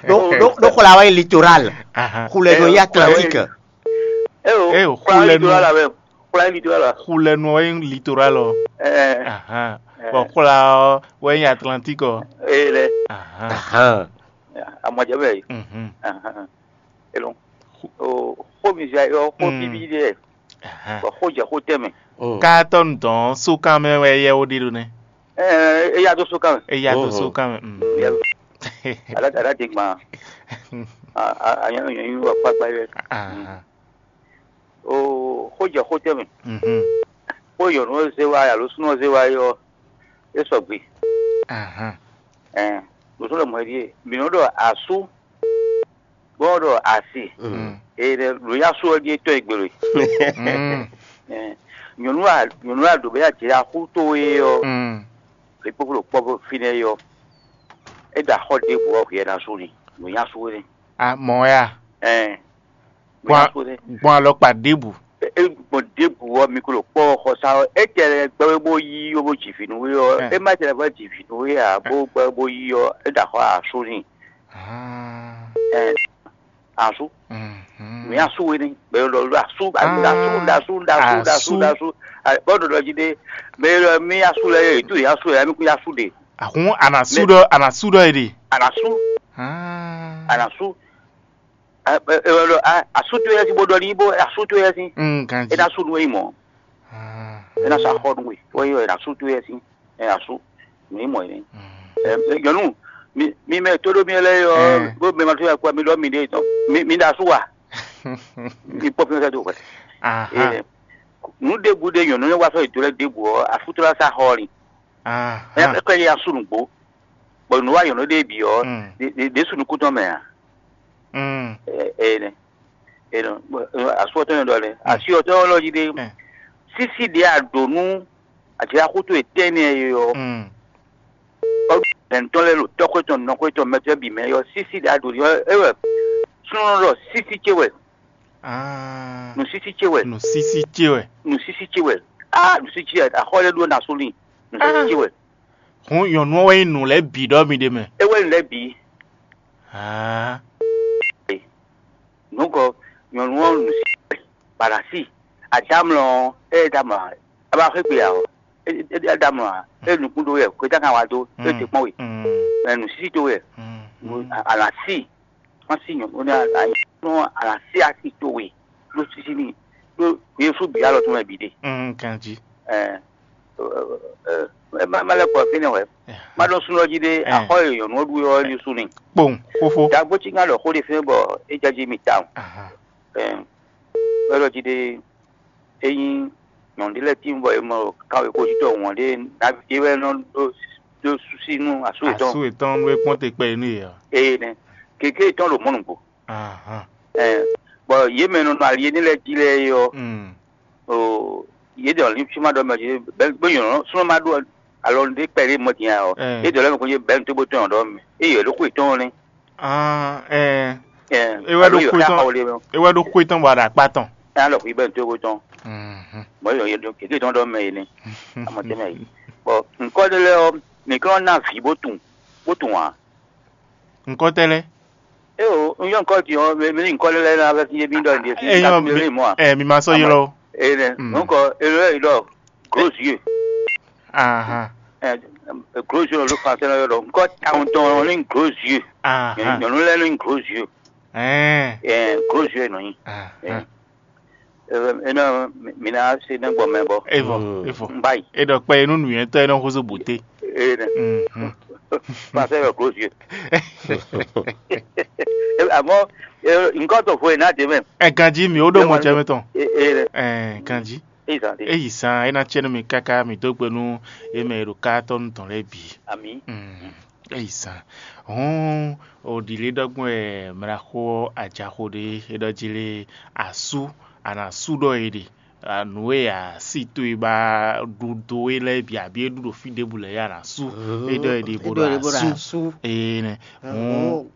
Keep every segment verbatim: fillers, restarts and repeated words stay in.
Ɖó xwla wɛ nyí litoral. Xulɛ nɔ nyí Atlantique. Eo, xulɛ nɔ la wɛ. Xulɛ nɔ la. Xulɛ nɔ wɛ nyí litoral ɔ. Bɔ xwla ɔ wɛ nyí Atlantique ɔ. Ee lɛ. Amɔjɛ bɛ yi. Elɔn. O xó mi zɛ yɔ xó bíbí ɖe. Bɔ xó jɛ xó tɛmɛ. Ká tɔnu dɔn sókan mɛ wɛ yɛ wo ɖe ɖo nɛ. Eya dó sókan mɛ. Eya dó sókan mɛ. Ala ala de gban. Anyɔ nyɔ nyɔ wa kpagba yɛ. O xó jɛ xó tɛmɛ. Xó yɔ nɔ zé wa alo súnɔ zé wa yɔ. E sɔgbe. Ɛn lǒsɔ́ lɔ mɔ̌ é ɖíe mǐ nɔ ɖɔ asú bó nɔ ɖɔ asi. Ee ɖɛ lǒ nyí asú ɔ́ ɖíe tɔ́ e gbelo e. Nyɔ̌nu a nyɔ̌nu a ɖǒ bɛ ya jɛ axú towe ɔ́, è kpókpó ɖo kpɔ́ fínɛ́ ɔ́, é ɖo axɔ́ ɖěbǔ ɔ́ hwɛ ná sú ni lǒ nyí asú énɛ́. Mɔ̌ ya. Ɛn Gbɔn alɔkpa ɖěbǔ. Gbɔn ɖěbǔ ɔ́, mi ko ɖo kpɔ́ xɔsá ɔ́, é tɛ gbɛ́ bó yí ó bó ji vǐ nú we ɔ́, é má tɛ gbɛ́ ji vǐ nú we ǎ, bó gbɛ́ bó yí ɔ́, é ɖo axɔ́ asú n'i. Ɛn asú. Mi asú we ní, mɛ lɔ lɔ asú, asú, asú, asú, asú, asú, bɔ ɖɔɖɔ jí ɖe, mɛ lɔ mi asú lɛ yɛ, tu yɛ asú lɛ, mi kú asú ɖe. Ahun anasú ɖɔ anasú ɖɔ yɛ ɖe. Anasú. Anasú. Asú to yɛ si bó ɖɔ ní bó asú to yɛ si. Ganji. É ná sú nú é mɔ. É ná sá xɔ nú we. Wọ́n yɔ é ná sú to yɛ si. Ɛ asú. Mi mɔ yìí. Nyɔnu, mi mɛ tó ɖó mi lɛ yɔ bó mɛ ma tó yà kpɔ mi ɖɔ mi ɖe tɔn. Mi ɖo asú wa. Mi kpɔ fi sɛ do hwɛ. Nu ɖěbǔ ɖe nyɔnu ne wá sɔ ìdó lɛ ɖěbǔ ɔ́, afútúlá sá xɔ ni. Ɛ kɛ yɛ asú nǔgbó. Bɔ nǔ wa nyɔnu ɖe bǐ ɔ́, ɖě su nukún tɔn mɛ a? Ɛ ɛ nɛ. Asú ɔtɔn nyɔ ɖɔ lɛ. Asi ɔtɔn lɔ jí ɖe. Sísí ɖě a ɖǒ nú Ajilaxótó e tɛ́nnɛ e ɔ́, ɔ́ hɛ̌ntɔn lɛ́ɛ ɖo tɔ́xwé tɔn nɔxwé tɔn mɛtɔ́ bǐ mɛ ɔ́ sísí ɖě a ɖǒ ní ɔ́ é wɛ súnnu ɖɔ sísí ce wɛ. Nǔsísí ce wɛ. Nǔsísí ce wɛ. Nǔsísí ce wɛ. Aa nǔsísí ce wɛ axɔ lɛ́ɛ ɖó ná sú n'i. Nǔsísí ce wɛ. Hǔn nyɔ̌nu ɔ́ wɛ nyí nǔ lɛ́ɛ bǐ ɖɔ mi ɖ'é mɛ. É wɛ nǔ lɛ́ɛ bǐ. Aa. Nǔkɔ nyɔ̌nu ɔ́ nǔsísí wɛ. Balasi. Adámlɔ ɔ́, é ɖo amlɔ ǎ. A ba xwé gbe ǎ ɔ́, é ɖo amlɔ ǎ. É nukún ɖó wɛ, xwetá kan wá dó, é ɖe kpɔ́n we. Mɛ nǔsísí dó wɛ. Alasi, wọ́n sì yàn ó ní àlàyé alasi asi tó we ló sísí ní ló Yésu bǐ alɔ tó mɛ bǐ ɖe. Ganjí. Ɛ ɛ má má lɛ kɔ fínɛ́ wɛ. Má ɖɔ súnú ɔ́ jí ɖé axɔ e nyɔ̌nu ɔ́ ɖu ɔ́ Yésu ni. Kpowun, fófó. Dagbo cí ŋá ɖɔ xó ɖé fínɛ́ bɔ é jɛ jí mi tawun. Ɛ wɛ ɖɔ jí ɖé ényí nyɔ̌nu ɖé lɛ́ɛ tín bɔ è mɔ kanwekojítɔ́ wɔn ɖé nǎví ɖé wɛ nɔ ɖó ɖó súsí nú asú yětɔn. Asú yětɔn nú é kpɔ́n te kpɛ nú yě ɔ́. Eye nɛ́, keke yětɔn ɖo mɔ̌ nǔgbó. Ɛ bɔ yě mɛ nɔ nɔ ali énɛ́ lɛ́ɛ jí lɛ́ɛ é ɔ́, o yě ɖɔ ní fí ma ɖɔ mɛ jí bɛ́ bó nyɔ̌ súnmọ́ ma ɖó alɔ ɖé kpɛ ɖé mɔ din ɔ́, yě ɖɔ lɛ́ mɛ ko yé bɛ́ nǔ tó bó tɔn ɔ́ ɖɔ mɛ. Eye ɖó xwe tɔn nɛ́. Ah, ɛ. Ɛ, é wɛ ɖó xwe tɔn. É wɛ ɖó xwe tɔn bɔ aɖa akpa tɔn. Ɛ alɔ xwi bɛ to ko tɔn. Mɔ yɔ yɛ do kéke tɔn dɔ mɛ yi ni. Amɔ tɛ mɛ yi. Bɔn nkɔ de lɛ ɔ, mi kɔn na vi bó tun bó tun wa. Nkɔ tɛ lɛ. E o, n yɔ nkɔ ti ɔ, mi mi nkɔ de lɛ na fɛ fi ye mi dɔ ndi fi na mi le mɔ a. Ɛ mi ma sɔ yi lɔ. E nɛ, nkɔ e lɛ yi dɔ. Gros yeux. Ahan. Ɛ gros yeux ló français lɔ yɔrɔ. Nkɔ tawun tɔn ní gros yeux. Ahan. Nyɔnu lɛ ní gros yeux. Ɛɛ. Ɛ gros yeux nɔ nyi. Ahan. Ɛ ɛ mi na se ne gbɔ mɛ bɔ. Evɔ, evɔ. N ba yi. E dɔ kpɛ enu nuyɛtɔ e nɔ xozo bote. E nɛ. Français lɔ gros yeux. Amɔ nkɔ tɔ fo e na de mɛ. Ɛ ganji mi o ɖo mɔ jɛ mi tɔn. E nɛ. Ɛ ganji. Eyi zan é ná tiɛ nú mi káká mi dó gbe nú yě mɛ e ɖo ká tɔ́ nú tɔn lɛ́ɛ bǐ. Eyi zan. Hɔn o ɖi lě ɖɔgbɔn wɛ mlaxó ajaxo ɖé é ɖɔ jí lé asú a nǎ sú ɖɔ è ɖe nǔ e a sí towe ba ɖu dó é lɛ́ɛ bǐ abǐ é ɖu ɖo fí ɖěbǔ lɛ́ɛ a nǎ sú é ɖɔ è ɖe bó ɖo asú. Ee nɛ. Hɔn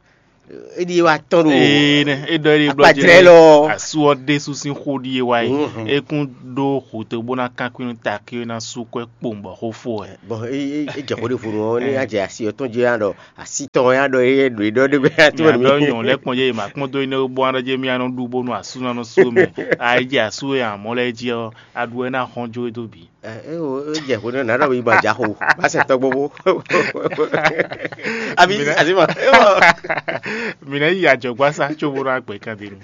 É ɖíe wá tɔn ɖo. Ee nɛ, é ɖɔ é ɖe blɔ akpa jlɛ lɔ. Asu ɔ́ ɖésú sín xó ɖíe wá yi. Mhm. É kún ɖó xutó bó ná kankwín nú takí é ná sú kwɛ kpowun bɔ xó fó wɛ. Bɔn é é é jɛ xó ɖé vo nú ɔ́, ní a jɛ asi ɔ́ tɔn jí a ɖɔ asi tɔn ya ɖɔ é ɖo é ɖɔ ɖé gbé a tó Mia ɖɔ nyɔ̌ lɛ́ kpɔ́n jɛ yi ma kpɔ́n dó énɛ́ bó ná ɖɔ jɛ mía nɔ ɖu bónú asú ná nɔ sú mɛ. A yi jɛ asú e amɔ̌ lɛ́ɛ jí ɔ́, a ɖu wɛ ná xɔ́n jó e dó bǐ. Ɛ é o é jɛ xó nɛ nǎ ɖɔ yi ma jǎ xo bá sɛ tɔgbó bó. Abi Mǐ ná- asi ma. Mǐ ná yi ajɔ̌gbásá có bó ná gbɛ kandinu.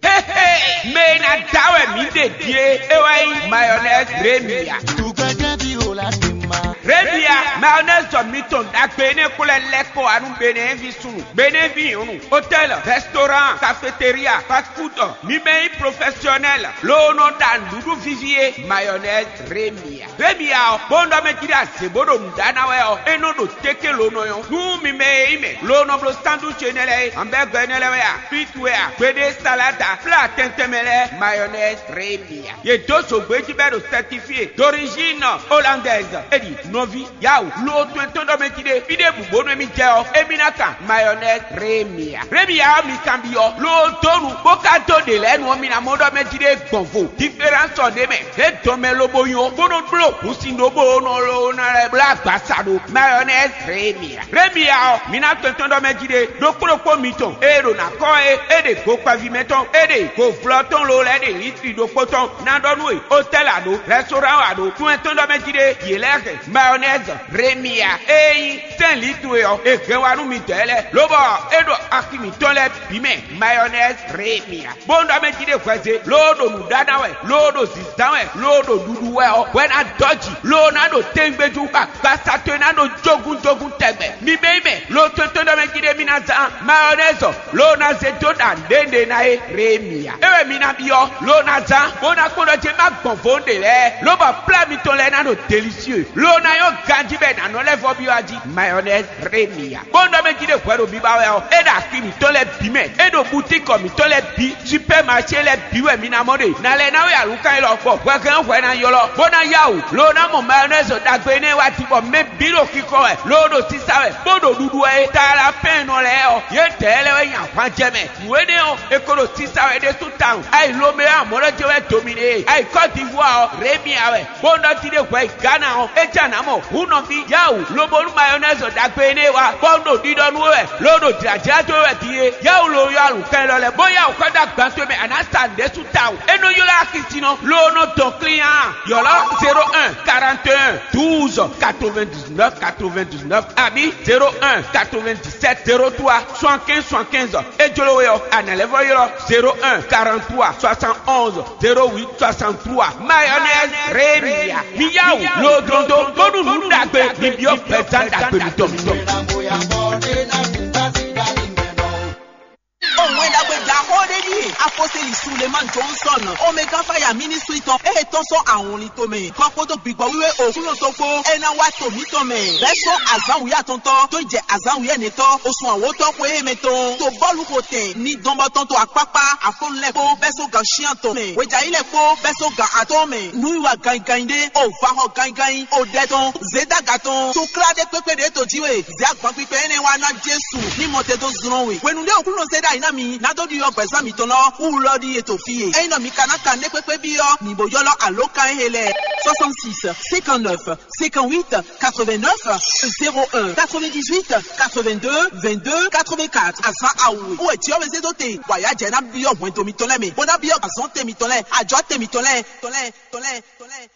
Hey, hey, mɛ e ná da wɛ mǐ ɖe din é, é wá nyí mayonnaise Remia. Remia, mayonnaise jɔ mitɔn ɖagbe énɛ́ xlɛ́ lɛ́ kɔ wá nú Benɛ́vi súnnu, Benɛ́vi nyɔ̌nu, hôtel, restaurant, cafétéria, fast food, mi mɛ nyí professionnel, loo nɔ ɖa nǔɖuɖu víví é, mayonnaise Remia. Remia ɔ́, bó nɔ mɛ jí ɖo azě bó ɖo nǔ ɖa ná wɛ ɔ́, é nɔ ɖo téké lo nɔ nyɔ́. Nú mi mɛ e nyí mɛ, lo nɔ bló sandwich énɛ́ lɛ́ɛ é, hamburger énɛ́ lɛ́ɛ wɛ a, frites wɛ a, gbeɖé salade a, plat tɛntɛn mɛ lɛ́ɛ, mayonnaise Remia. Yě dó zǒgbé jí bɔ é ɖo certifié d'origine hollandaise. É ɖi nɔví, yawu, lo tɔn tɔn ɖɔ mɛ jí ɖé, fí ɖěbǔ bónú émí jɛ ɔ́, émí ná kan mayonnaise Remia. Remia ɔ́ mi kanbyɔ́, lo dó nu, bó ka dó ɖě lɛ́ɛ nu ɔ́, mi ná mɔ ɖɔ mɛ jí ɖé gbɔn vo. Différence ɔ́ ɖ'é mɛ, é dɔn mɛ lobo nyɔ, bó nɔ bló hǔnsin ɖó bó nɔ lo ná lɛ́ bló agbasa ɖó. Mayonnaise Remia. Remia ɔ́, mi ná tɔn tɔn ɖɔ mɛ jí ɖé, ɖokpó ɖokpó mitɔn, ée ɖo ná kɔ́ é, é ɖe go kpaví mɛ tɔn, é ɖe go vlɔ́ tɔn lo lɛ́ɛ ɖe litri ɖokpó tɔn, ná ɖɔ nú we, hôtel a ɖo, restaurant a ɖo, tún ɛ tɔn ɖɔ mɛ jí ɖé, yě lɛ́ hɛn mayonnaise Remia, é nyí sɛ́n litri e ɔ́, è hɛn wá nú mi dɔ̌ lɛ́ɛ, lobɔ é ɖo axi mǐtɔn lɛ́ɛ bǐ mɛ, mayonnaise Remia. Bó nɔ mɛ jí ɖé hwɛzé, loo ɖo nǔ ɖa ná wɛ, loo ɖo zǐzán wɛ, loo ɖo ɖuɖu wɛ ɔ́, hwɛ ná dɔ́ jǐ, loo ná ɖo téngbéjú, agbasa towe ná ɖo jógúnjógún tɛgbɛ. Mi mɛ yi mɛ, lo tɔn tɔn ɖɔ mɛ jí ɖé mi ná zán mayonnaise, loo ná zé dó ɖa nǔɖé ná é Remia. É wɛ mi ná byɔ́, loo ná zán, bó ná kpɔ́n ɖɔ jé má gbɔn vo ɖě lɛ́ɛ, lobɔ plá mitɔn lɛ́ɛ ná ɖo délicieux, loo ná nyɔ́ ganjí bɔ è nǎ nɔ lɛ́ vɔ byɔ́ a jí mayonnaise Remia. Bó nɔ mɛ jí ɖé hwɛ ɖo biba wɛ ɔ́, é ɖo axi mǐtɔn lɛ́ɛ bǐ mɛ, é ɖo butíkɔ mǐtɔn lɛ́ɛ bǐ, supɛ́maṣé lɛ́ɛ bǐ wɛ mi ná mɔ ɖe. Nǎ lɛ́ ná wɛ alǔkan élɔ́, bɔ hwɛhɛn hwɛ ná ylɔ́, bó ná yá wǔ, loo ná mɔ mayonnaise ɖagbe énɛ́ wá din, bɔ mɛ bǐ ɖo xixɔ wɛ, loo ɖo sísá wɛ, bó ɖo ɖuɖu wɛ é. Taala pɛ́nnɔ lɛ́ɛ ɔ́, yědɛɛ lɛ́ɛ wɛ nyi ahwan jɛ mɛ. Nǔ énɛ́ ɔ́, è ko ɖo sísá wɛ ɖésú tawun. Ayi Lomé amɔ̌ lɔ jɛ wɛ dominé, ayi Kɔ́divuwa ɔ́, Remia wɛ, bó nɔ jí ɖé hwɛ yi Ghana ɔ́, é jɛ nǎ mɔ hǔn nɔví Yawu, lobo nú mayonnaise ɖagbe énɛ́ wá, bɔ un ɖo ɖiɖɔ nú we wɛ, lo ɖo jlǎjlá dó we wɛ din é. Yawu lo yɔ alǔkɛn lɔ lɛ́ɛ, bó Yawu xɔ dó agban towe mɛ, a nǎ sa nǔɖé sú tawun. É nɔ ylɔ́ axi sin nɔ, lo nɔ dɔn klín a? Ylɔ́ zéro un quarante et un douze quatre-vingt-dix-neuf quatre-vingt-dix-neuf, abǐ zéro un quatre-vingt-dix-sept zéro trois soixante-quinze soixante-quinze. É jló we ɔ́, a nǎ lɛ́ vɔ ylɔ́ zéro un quarante-trois soixante-onze zéro huit soixante-trois. Mayonnaise Remia. Mi yá wǔ ló dɔn dó, bónú nǔ ɖagbe, mi byɔ́ gbɛzán ɖagbe mitɔn. Òun é dàgbé jà kó dé ní. Aposteli Suleiman Johnson, Omega Fire Ministry tɔn, e tɔn sɔn ahun li tomɛ. Kɔkpodo gbigbɔ wiwe òkúlò tó kpó, e ná wá to mǐtɔn mɛ. Bɛ́ sɔ́ azǎn wǔyá tɔntɔn, tó jɛ azǎn wǔyá nɛtɔn, osun àwòtɔn xwe e mɛ tɔn. To bɔ́lu ko tɛn, ní dɔnbɔ tɔn to akpákpá, afɔnu lɛ kpó, bɛ́ sɔ́ gan shián tɔn mɛ. Wejayí lɛ kpó, bɛ́ sɔ́ gan atɔn mɛ. Nǔwiwa ganyiganyi ɖé, o va xɔ ganyiganyi, o ɖɛ tɔn, zědaga tɔn, to klá ɖé kpékpé ɖě to jí we. Zě agban kpikpɛ énɛ́ wá ná Jesu ní mɔ te dó zlɔ́n we. Hwenu ɖé Aklúnɔ zé ɖ'ayǐ ná mi, ná dó ɖiɖɔ gbɛ̌zán mitɔn lɔ, wú lɔ ɖíe to fí e. Ényí nɔ mi ka ná kan nɛ́ kpékpé byɔ́, mi bo ylɔ́ alǒkan e lɛ́ɛ: soixante-six cinquante-neuf cinquante-huit quatre-vingt-neuf zéro un, quatre-vingt-dix-huit quatre-vingt-deux vingt-deux quatre-vingt-quatre. Azǎn awu e wú wɛ Jǐ ɔ́ wɛ zé dó te, bɔ ayǎ jɛ ná byɔ́ hwɛndo mitɔn lɛ́ɛ mɛ, bó ná byɔ́ azɔ̌ te mitɔn lɛ́ɛ, ajɔ̌ te mitɔn lɛ́ɛ, tɔn lɛ́ɛ, tɔn lɛ́ɛ, tɔn lɛ́ɛ.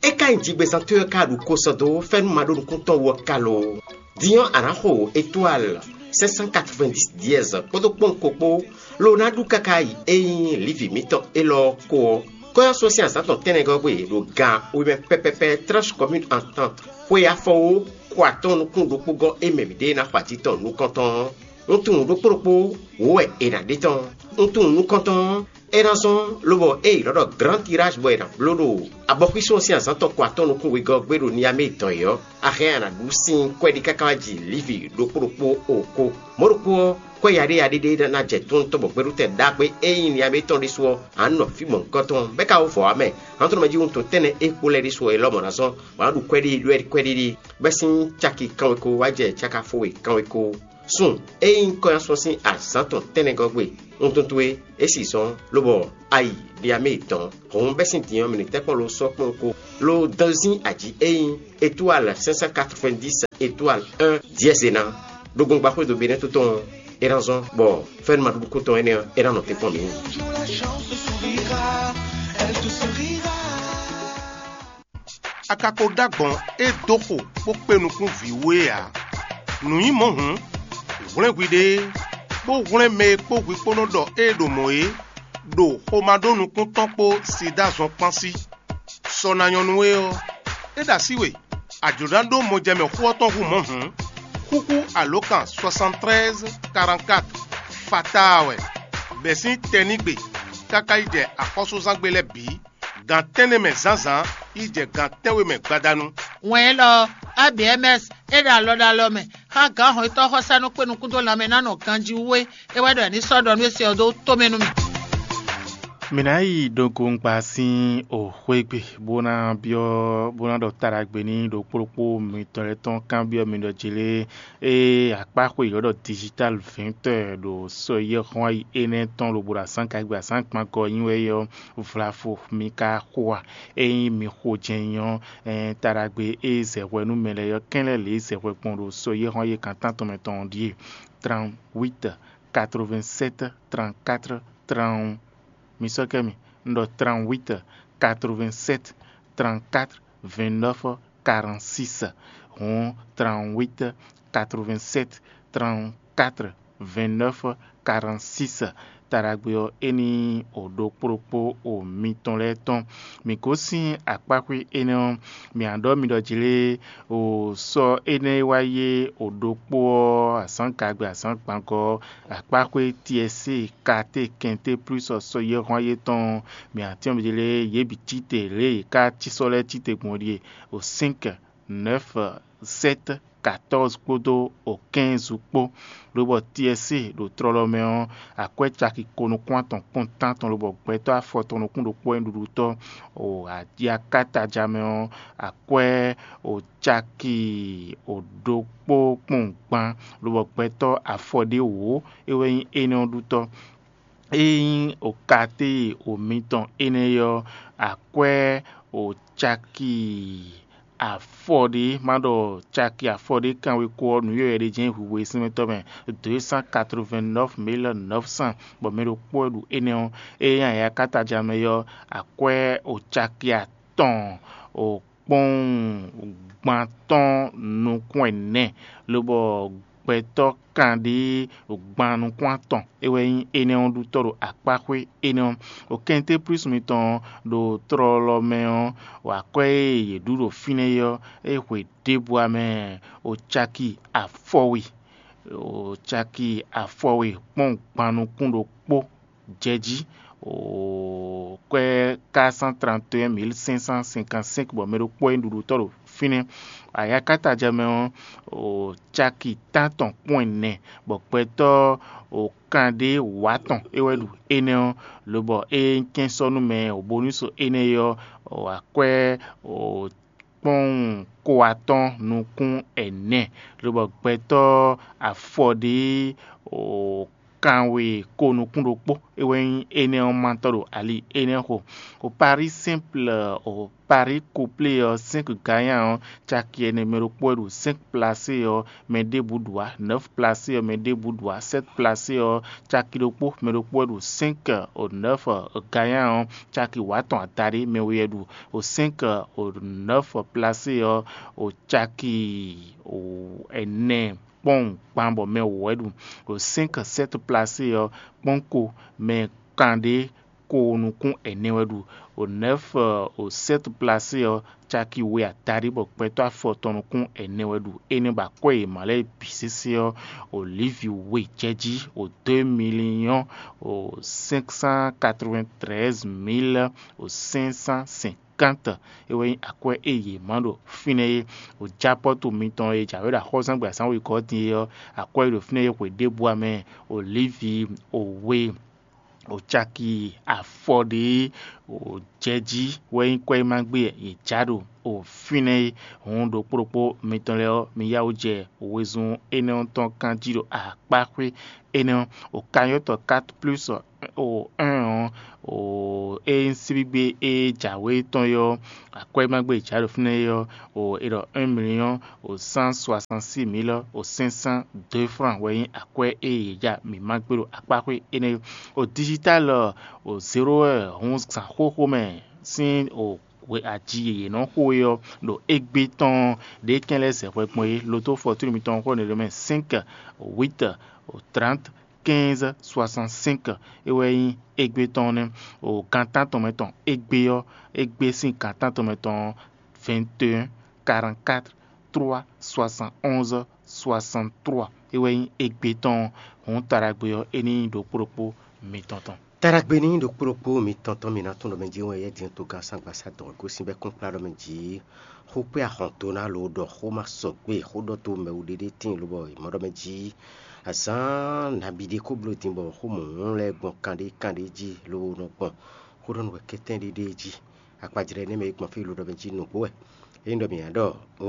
É ka nyí jigbezán towe ɔ́ ka ɖu ko sɔ́ dó fɛ́nú maɖónukúntɔn wú ɔ́ ka lo? Din ɔ́, a nǎ xo étoile cinq cent quatre-vingt-dix dièse kpódó kpɔ́nwun ko kpó, lo ná ɖu káká yi é nyí lǐvi mǐtɔn élɔ́ ɔ́ ko ɔ́. Kɔ́yɔ́só sín azǎn tɔn tɛ́nnɛgɔ́ gbe ɖo gan we mɛ pɛpɛpɛ Tranche Commune Entente xwe afɔwó ko atɔ́ɔ́n nukún ɖokpó gɔ́ é mɛ mǐɖée ná xɔ atín tɔn nukɔntɔn ɔ́. Un tunwun ɖokpó ɖokpó wǒ wɛ è nǎ ɖe tɔn. Un tunwun nukɔntɔn ɔ́, é ná zɔ́n lobɔ é yi lɔ̌ ɖɔ Grand Tirage bɔ è nǎ bló ɖo abɔxwísɔ́ sín azǎn tɔn ko atɔ́ɔ́n nukún wegɔ́ ɔ́ gbé ɖo Niamé dɔn yě ɔ́, a hɛn a nǎ ɖu sín kwɛ́ɖí káká wá ji Livi ɖokpó ɖokpó o ko. Mɔ̌ ɖokpó ɔ́, kwɛ́ yaɖéyaɖé ɖé ná jɛ tóntɔ́ bɔ gbɛɖutɛn ɖagbe e nyí Niamé tɔn ɖésú ɔ́, a nǎ nɔ fí mɔ̌hunkɔtɔn bɔ é ka wó vɔ ǎ mɛ. Hǎntɔnɔmɛ jí wuntun tɛ́nnɛ e kpo lɛ́ɛ ɖésú ɔ́, élɔ́ mɔ̌ ná zɔ́n bɔ a nǎ ɖu kwɛ́ɖí ɖwɛ́ɖí kwɛ́ɖí ɖi, bɔ é sín caki kanweko wá jɛ caka fó we kanweko. Sun e nyí kɔ́nyásun sín azǎn tɔn tɛ́nnɛgɔ́ gbe. Wuntun towe é si zɔ́n, lobɔ a yi Niamé dɔn. Hǔn bɛ́ sín din ɔ́, mǐ ní tɛ́ kpɔ́n lo sɔ́ kpɔ́n ko, lo dɔn sín aji e nyí étoile cinq cent quatre-vingt-dix étoile un dièse ná ɖó gbɔngba xwédo Benɛ́ tó tɔn ɔ́, é ná zɔ́n bɔ fɛ́nú maɖuɖu tɔn énɛ́ ɔ́, é ná nɔ te kpɔ́n mǐ. A ka ko ɖó agbɔ̌n e dó xo bó kpé nukún vǐ wú é ǎ. Nǔ nyí mɔ̌ hǔn, hwlɛ́n hwiɖée, bó hwlɛ́n mɛ e kpó hwi kpó nɔ ɖɔ ée ɖo mɔ̌ é, ɖo xomá ɖó nukún tɔn kpó Sidáa zɔn kpán sí. Sɔ ná nyɔ́ nú we ɔ́, é ɖo así we, a jlǒ ná ɖó mɔjɛmɛ xó ɔ́ tɔn hú mɔ̌ hǔn, xúxú alǒkan soixante-treize quarante-quatre fatáa wɛ, bɛ̌ sín tɛnígbe káká yi jɛ axɔ́súzángbe lɛ́ɛ bǐ, gan tɛ́nnɛ mɛ zǎnzǎn yi jɛ gan tɛ́nwe mɛ gbadanu. Wɛn élɔ́ ɔ́, A B M S é ɖo alɔ ɖo alɔ mɛ xá gǎn hɔnnyitɔ́ xɔsánú kpé nukún dó lanmɛ ná nɔ ganjí wú é. É wɛ ɖɔ è ní sɔ́ ɖɔ nú é se ɔ́ dó tomɛ nú mì. Mǐ ná yi ɖogoŋgba sín òxwé gbe bó ná byɔ́ bó ná ɖɔ taɖagbe ní ɖokpó ɖokpó mitɔn lɛ́ɛ tɔn kanbyɔ́ mi ɖɔ jlé ée akpáxwe yɔ̌ ɖɔ digital vɛ̌ntɔ́ ɖo sɔyɛ́xɔ́n ayi énɛ́ tɔn lobo ɖo azǎn gagbe azǎn gbangɔ nyi wɛ é ɔ́, vlavo mi ka xo a? Ényí mi xo jɛ́n nyí ɔ́, taɖagbe e zɛ hwɛ nú mɛ lɛ́ɛ ɔ́ kɛ́n lɛ́ lě zɛ hwɛ gbɔn ɖo sɔyɛ́xɔ́n ayi kan tántɔn mɛ tɔn ɔ́ ɖíe: trente-huit quatre-vingt-sept trente-quatre trente. Mi sɔ́ kɛ mi, un ɖɔ trente-huit quatre-vingt-sept trente-quatre vingt-neuf quarante-six. Hǔn trente-huit quatre-vingt-sept trente-quatre vingt-neuf quarante-six. Taɖagbe ɔ́, é ní o ɖokpó ɖokpó o mitɔn lɛ́ɛ tɔn. Mǐ gosín akpáxwé énɛ́ ɔ́, mǐ ná ɖɔ mi ɖɔ jlé o sɔ́ énɛ́ e wá yé o ɖokpó ɔ́, azǎn gagbe azǎn gbangɔ ɔ́, akpáxwé Tiɛsée, Katé, Kɛnté plus sɔ́ yɛ́hɔ́n yětɔn. Mǐ ná tɛ́n mi jlé yě bǐ cí te lě e yě ká cí sɔ́ lɛ́ɛ cí te gbɔn ɖíe: o cinq, neuf, sept, quatorze kpódó o quinze kpó. Lobɔ Tiɛsée ɖo tlɔlɔ mɛ ɔ́, akwɛ́ caki ko nukún atɔn kpɔ́n tántɔn lobɔ gbɛtɔ́ afɔtɔn nukún ɖokpó wɛ nyí ɖuɖutɔ́. O ajakátá ja mɛ ɔ́, akwɛ́ o caki o ɖokpó kpɔ́n gban, lobɔ gbɛtɔ́ afɔ ɖé wǒ é wɛ nyí énɛ́ ɔ́ ɖutɔ́. Ényí o katéyi o mitɔn énɛ́ ɔ́, akwɛ́ o caki afɔ ɖé, má ɖɔ caki afɔ ɖé kanweko ɔ́, nǔ yɔ̌yɔ́ ɖé jɛ́n hwihwe e sɛ́nmɛtɔ́ mɛ deux cent quatre-vingt-neuf mille neuf cents, bɔ mɛ ɖokpó wɛ ɖu énɛ́ ɔ́. Ényí ayakátá ja mɛ ɔ́, akwɛ́ o caki atɔn o kpɔ́n gban tɔn nukún ɛnɛ, lobɔ gbɛtɔ́ kanɖé gban nukún atɔn é wɛ nyí énɛ́ ɔ́ ɖutɔ́ ɖo akpáxwé énɛ́ ɔ́. Ɖo kɛntɛ́plúsu mitɔn ɔ́, ɖo tlɔlɔ mɛ ɔ́, akwɛ́ e yě ɖu ɖo fínɛ́ é ɔ́, é hwe ɖěbǔ ǎ mɛ, o caki afɔwe, o caki afɔwe kpɔ́n gban nukún ɖokpó jɛ jí, o kwɛ́ quatre cent trente et un mille cinq cent cinquante-cinq, bɔ mɛ ɖokpó wɛ nyí ɖuɖutɔ́ ɖo fínɛ́. Ayakátá jɛ mɛ ɔ́, o caki tántɔn kpɔ́n ɛnɛ, bɔ gbɛtɔ́ o kanɖé wǎtɔn é wɛ ɖu énɛ́ ɔ́, lobɔ é nyí kɛ́nsɔ́númɛ o bónúso énɛ́ é ɔ́, o akwɛ́ o kpɔ́nwun ko atɔ́n nukún ɛnɛ, lobɔ gbɛtɔ́ afɔɖé o kanwe ko nukún ɖokpó é wɛ nyí énɛ́ ɔ́ mátɔ́ ɖo ali énɛ́ xo. O Paris simple o Paris couplé ɔ́, cinq gagnant ɔ́, caki ɛnɛ mɛ ɖokpó wɛ ɖo cinq placé ɔ́, mɛ ɖěbǔ ɖu ǎ. Neuf placé ɔ́, mɛ ɖěbǔ ɖu ǎ. Sept placé ɔ́, caki ɖokpó mɛ ɖokpó wɛ ɖu cinq o neuf gagnant ɔ́, caki wǎtɔn adaɖé mɛ we wɛ ɖu. O cinq o neuf placé ɔ́, o caki o ɛnɛ kpɔ́n gban bɔ mɛ wǒ wɛ ɖu. O cinq sept placé ɔ́, kpɔ́n ko mɛ kanɖé ko nukún ɛnɛ wɛ ɖu. O nɛ́f o sɛ́t plasé ɔ́, caki we adaɖé bɔ gbɛtɔ́ afɔtɔn nukún ɛnɛ wɛ ɖu. Énɛ́ ba kwɛ́ e mǎ lɛ́ɛ bǐ sésé ɔ́, o Lǐvi we jɛ jí o deux millions o cinq cent quatre-vingt-treize mille o cinq cent cinquante. É wɛ nyí akwɛ́ e yě má ɖo fínɛ́ é. O jápɔ́tu mitɔn e jǎwe ɖo axɔ́súzángbe azǎn wěgɔ́ din é ɔ́, akwɛ́ e ɖo fínɛ́ é hwe ɖěbǔ ǎ mɛ. O Lǐvi o we o caki afɔɖěe o jɛ jí wɛ nyí kwɛ́ e ma gbé yě já ɖo o fínɛ́ é. Hǔn ɖokpó ɖokpó mitɔn lɛ́ɛ ɔ́, mi yá wǔ jɛ wezun énɛ́ ɔ́ tɔn kan jí ɖo akpáxwé énɛ́ ɔ́. O kanyɔ́tɔ quatre plus o un ɔ́, o é nyí síbígbe e jǎwe tɔn é ɔ́, akwɛ́ e ma gbé yě já ɖo fínɛ́ é ɔ́, o è ɖɔ un million o cent soixante-six mille o cinq cent deux francs wɛ nyí akwɛ́ e yě ja mǐ ma gbé ɖo akpáxwé énɛ́ é. O digital o zéro heure hǔn zǎn xóxó mɛ sín o hwe aji e yě nɔ xo é ɔ́, ɖo égbé tɔn ɖě kɛn lɛ́ɛ zɛ hwɛ gbɔn é. Loto fɔtúnu mitɔn xó ɖě mɛ cinq huit o trente quinze soixante-cinq é wɛ nyí égbé tɔn nɛ́. O gan tántɔn mɛ tɔn égbé ɔ́, égbé sín gan tántɔn mɛ tɔn ɔ́, vingt et un quarante-quatre trois soixante-onze soixante-trois é wɛ nyí égbé tɔn. Hǔn taɖagbe ɔ́, é ní nyí ɖokpó ɖokpó mitɔn tɔn. Taɖagbe ní nyí ɖokpó ɖokpó mitɔn tɔn, mi ná tún ɖɔ mɛ jí wɛ yɛ dín togán sangbasadɔn gosín bɛ́ kún kplá ɖɔ mɛ jí. Xó kpé ahɔn dó ná lo ɖɔ xó ma sɔgbe xó ɖɔ tó mɛwu ɖéɖé tíin lobɔ è mɔ ɖɔ mɛ jí. Azǎn nabí ɖé kó bló din bɔ xó mɔ̌hún lɛ́ɛ gbɔn kanɖé kanɖé jí lo nɔ gbɔn xó ɖɔ nú wɛ kɛ́tɛ́n ɖéɖé jí. Akpajlɛ́ énɛ́ mɛ e gbɔn fí lo ɖɔ mɛ jí nǔgbó wɛ. Ényí ɖɔ mǐ ná ɖɔ o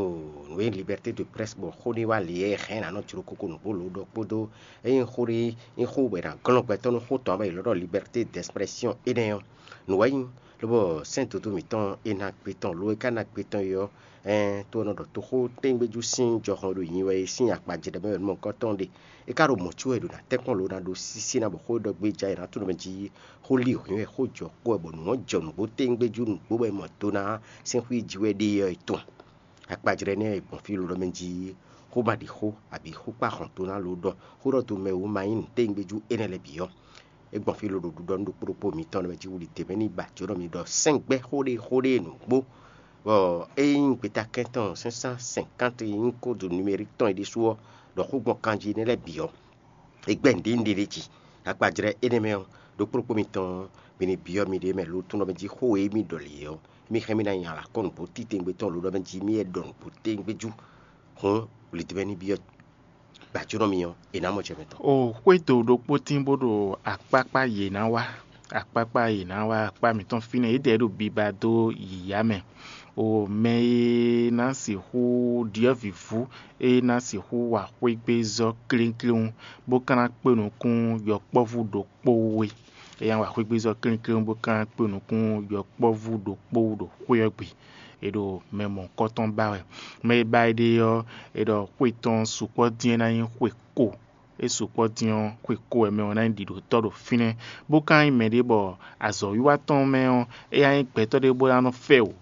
nǔ e liberté de presse bɔ xó ɖé wá lě e hɛn ná nɔ jló kókó nǔgbó lo ɖɔ kpódó ényí xó ɖé nyí xó bɔ è nǎ glɔ́n gbɛtɔ́ nú xó tɔn ɔ́, bɔ è lɔ́ ɖɔ liberté d'expression énɛ́ ɔ́, nǔ wɛ nyí. Lobɔ sɛ́n dodó mǐtɔn e ná gbe tɔn lo e ka ná gbe tɔn é ɔ́, ɛɛn tó nɔ ɖɔ toxó tɛ́ngbéjú sín jɔhɔn ɖo nyi wɛ é sín akpajlɛ́ mɛ wɛ nú mɔ̌hunkɔ tɔn ɖe. É ka ɖo mɔ̌ có wɛ ɖo ná tɛ́nkpɔ́n lo ná ɖó sísí ná bɔ xó e ɖɔ gbé ja è nǎ tunwun mɛ jí xó lí hwǐn wɛ xó jɔ kpó wɛ bɔ nǔ ɔ́ jɔ nǔgbó téngbéjú nǔgbó wɛ mɔ do ná sɛ́n xwí jí wɛ ɖe ɔ́ è tunwun. Akpajlɛ́ nɛ́ è gbɔn fí lɔlɔ́ mɛ jí xó ma ɖi xó abǐ xó kpá hɔn do ná lo ɖɔ xó ɖɔ do mɛ wú ma nyí nǔ téngbéjú énɛ́ lɛ́ɛ bǐ ɔ́. É gbɔn fí lo ɖo ɖiɖɔ nú ɖokpó ɖokpó mǐtɔn lɛ́ɛ mɛ jí wuli dě mɛ ní ba jǒnɔ mi ɖɔ sɛ́ngbɛ́ xó ɖé xó ɖé nǔgbó bɔ é nyí gbeta kɛntɔn cinq cent cinquante nyí kódu numérique tɔn é ɖésú ɔ́, ɖɔ xó gbɔn kanjí énɛ́ lɛ́ɛ bǐ ɔ́, è gbɛ́ nǔɖé nǔɖé ɖé jí. Akpajlɛ́ énɛ́ mɛ ɔ́, ɖokpó ɖokpó mitɔn ɔ́, mi ní byɔ́ miɖée mɛ lótunɔ mɛ jí xó e mì ɖɔ lě ɔ́, mi hɛn mì ná nya alǎkɔ́nǔ bó títɛngbé tɔn lǒ ɖɔ mɛ jí mì wɛ ɖɔ nǔgbó téngbé jú. Hǔn, lidimɛ ní byɔ́ gbajúnɔ mi ɔ́, è nǎ mɔ jɛ mɛ tɔn. O xwédo ɖokpó tín bó ɖo akpákpá yě ná wá, akpákpá yě ná wá akpá mǐtɔn fínɛ́, yědɛɛ ɖo biba dó yǐyá mɛ. O mɛ e ná sixú ɖyɔ́vǐvú e ná sixú wa xwégbézɔ́ klínkín, bó ka ná kpé nukún yɔkpɔ́vú ɖokpó we. É ná wa xwégbézɔ́ klínkín bó ka ná kpé nukún yɔkpɔ́vú ɖokpó ɖo xwé ɔ́ gbe. È ɖo mɛ mɔ̌hunkɔtɔn ba wɛ. Mɛ e ba é ɖe ɔ́, è ɖɔ xwe tɔn sukpɔ́ dín é ná nyí xwe ko. É sukpɔ́ dín ɔ́, xwe ko wɛ mɛ ɔ́ ná nyí ɖiɖǒtɔ́ ɖo fínɛ́, bó ka nyí mɛɖé bɔ azɔ̌wiwa tɔn mɛ ɔ́, é ná nyí gbɛtɔ́ ɖé bó ná nɔ fɛ wǔ.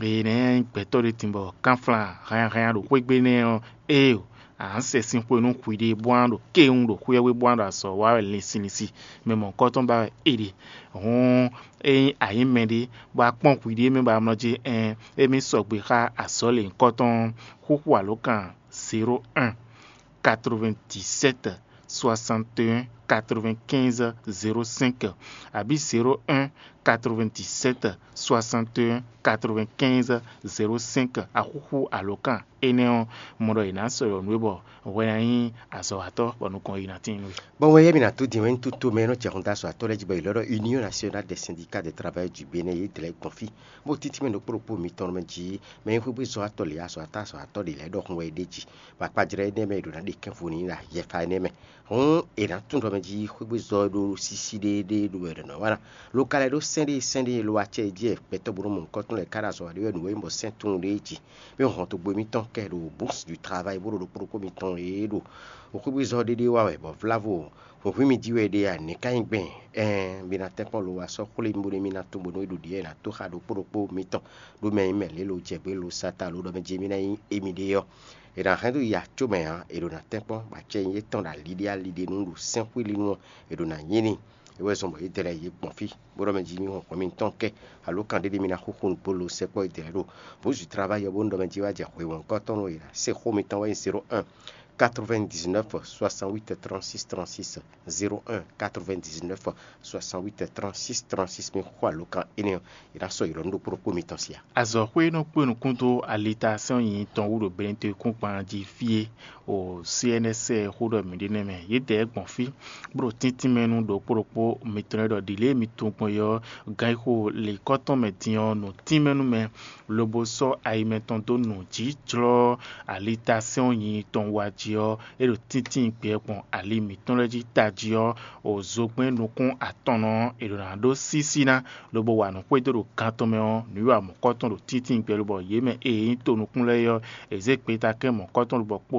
Eye nɛ̌ nyí gbɛtɔ́ ɖé din bɔ kánflán hannyahannya ɖo xwé gbe nɛ́ ɔ́, éeǒ, a nǎ sɛ sin xwe nú hwiɖée bó ná ɖo kéwún ɖo xwé ɔ́ gbe bó ná ɖo azɔ̌ wa wɛ linsinlinsin. Mɛ mɔ̌hunkɔtɔn ba wɛ é ɖe. Hǔn, ényí a nyǐ mɛɖé, bɔ a kpɔ́n hwiɖée mɛ bɔ a mlɔ́ jí ɛɛn, émí sɔgbe xá azɔ̌ lěhunkɔtɔn ɔ́, xúxú alǒkan zéro un quatre-vingt-dix-sept soixante et un quatre-vingt-quinze zéro cinq abǐ zéro un quatre-vingt-dix-sept soixante et un quatre-vingt-quinze zéro cinq axúxú alǒkan énɛ́ ɔ́, mɔ ɖɔ è nǎ sɔ́ ɖɔ nǔ é bɔ hwɛ ná nyí azɔ̌watɔ́ bɔ nukɔn yi ná tín nú we. Bɔ wɛ yɛ mi ná dó din wɛ ní tó mɛ e nɔ jɛ xɔn dó azɔ̌watɔ́ lɛ́ɛ jí bɔ è lɔ ɖɔ Union Nationale des Syndicats des Travailleurs du Bénin yě dlɛ̌ gbɔn fí, bó títí mɛ ɖokpó ɖokpó mitɔn mɛ jí mɛ e xwégbé zɔ́watɔ́ lě azɔ̌watɔ́ azɔ̌watɔ́ ɖě lɛ́ɛ ɖɔhun wɛ é ɖe jí, bɔ akpajlɛ́ énɛ́ mɛ è ɖǒ ná ɖe kɛ́nfú n'i ɖo ayɛfa énɛ́ mɛ. Hǔn è nǎ tunwun ɖɔ mɛ jí xwégbé zɔ́ ɖó sísí ɖéeɖée ɖo wɛ ɖɔ nɔ wa ná. Lo ka lɛ́ ɖó sɛ́n ɖé sɛ́n ɖé lo acɛ jí wɛ gbɛtɔ́ bó nɔ mɔ nukɔn tɔn lɛ́ɛ ká ɖo azɔ̌ wa ɖé wɛ nǔ e nyí bɔ sɛ́n tunwun ɖé jí. Mɛ hɔn dó gbe mitɔn kɛ ɖo bourse du travail bó ɖo ɖokpó ɖokpó mitɔn e ɖo xwégbé zɔ́ ɖéɖé wa wɛ bɔ vlávo hwǐnhwín mi jí wɛ ɖe a nɛ̌ ka nyí gbɛn? Ɛɛn, mi ná tɛ́nkpɔ́n lo wa sɔ́ xwlé mi bónú mi ná tunwun bónú é ɖo ɖiɖɔ e è nǎ tó xá ɖokpó ɖokpó mitɔn ɖó mɛ e nyí mɛ lě lo jɛ gbé lo sata lo ɖɔ mɛ jí mì ná nyí émí ɖé ɔ́. È nǎ hɛn dó yi acó mɛ ǎ, è ɖo ná tɛ́nkpɔ́n bɔ acɛ nyí étɔn ɖo ali ɖé ali ɖé nú ɖo sɛ́nxwílinú ɔ́, è ɖo ná nyí n'i. É wɛ zɔn bɔ yědɛɛ lɛ́ɛ yě gbɔn fí, bó ɖɔ mɛ jí mì hɔn hɔn mitɔn kɛ, alo kan ɖé ɖé mi ná xúxú nǔgbó lo sɛkpɔ́ yědɛɛ lɛ́ɛ ɖo. Bǔzu travayɔ bó ɖɔ mɛ jí wá jɛ hweyɔ̌nkɔ́tɔn e è nǎ se xó mitɔn wɛ nyí zéro un quatre-vingt-dix-neuf soixante-huit trente-six trente-six, zéro un quatre-vingt-dix-neuf soixante-huit trente-six trente-six. Mi xo alokan énɛ́ ɔ́, è nǎ sɔ́ ylɔ̌ nú ɖokpó ɖokpó mitɔn sí a? Azɔ̌xwé e nɔ kpé nukún dó alitasɛ́n nyinyi tɔn wú ɖo Benɛtɔ́ kúngban jí fí é, o C N S xó ɖɔ mǐ ɖe nɛ́ mɛ. Yědɛɛ gbɔn fí, bó ɖo tíntín mɛ nú ɖokpó ɖokpó mitɔn e ɖɔ ɖǐlée mi tunwun gbɔn é ɔ́, gǎn e xo lǐkɔ́ tɔn mɛ din ɔ́, nǔ tínmɛ nú mɛ, lobo sɔ́ ayi mɛtɔn dó nǔ jí jlɔ́ alitasɛ́n nyinyi tɔn wa jí ɔ́, é ɖo tíntín gbɛ gbɔn ali mǐtɔn lɛ́ɛ jí tají ɔ́, o zogbɛ́n nukún atɔnnɔ ɔ́, è ɖǒ ná ɖó sísí ná, lobo wa nǔ xwedó ɖo gan tɔn mɛ ɔ́, nǔwiwa mɔ̌kɔ́tɔn ɖo tíntín gbɛ lobɔ yě mɛ e nyí tonukún lɛ́ɛ é ɔ́, è zě gbeta kɛ́n mɔ̌kɔ́tɔn lobɔ kpo